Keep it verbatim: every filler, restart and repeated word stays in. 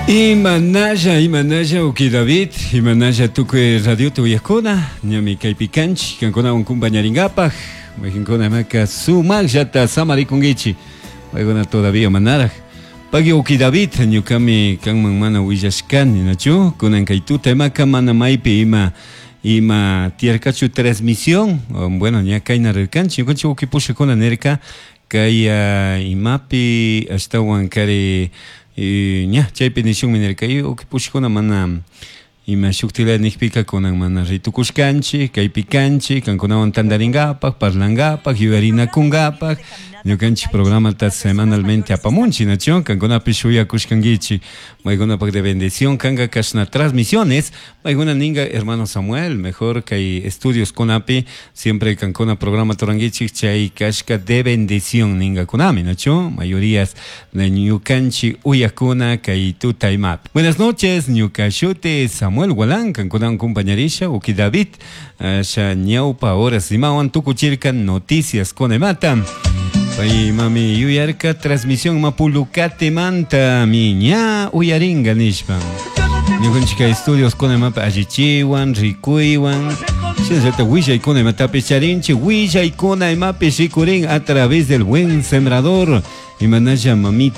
Imanalla, imanalla, uki David, imanalla tukuy radiota uyakuna, ñami kaypi kanchik, kankunawan kumpañaringapaj, mayqinkuna imaka sumaqllata samarikunkichik, paykuna todavía manaraj. Pagui uki David, ñukami kanman mana willashkani, nachu? Kunan kay tuta imaka mana maypi ima ima tiyarkachu transmisión, bueno, ña kayna rirkanchik, ñukanchik uki pushakuna nirka, kay uh, imapi ashtawan kari ña chaypi nishunmi nirka uki pushakuna mana ima shuktila nijpika kunan mana ritukushkanchik kaypi kanchik kankunawan tantarinkapak parlankapak yuyarinakunkapak ñukanchik programata semanalmente apamunchik nachu kankunapish shuyakushkankichik maykunapak de bendición kanka kashna transmisiones maykuna ninka hermano Samuel mejor kay estudios kunapi siempre kankuna programa turankichik chay kashka de bendición ninkakunami nachu mayorías de ñukanchik uyakuna kay tuta imapi. Buenas noches ñuka shuti Samuel Gualán kankunawan compañerisha uki David asha ñawpa horas imawan tukuchirka noticias con imata pay mami yuyarka transmisión mapulukatemanta mi ña uyaringa nishpa ñukanchik estudios con imapa allichiwan rikuywan shinallata willaykuna imatapish charinchik willaykuna imapish rikurin a través del buen sembrador imanalla mamita.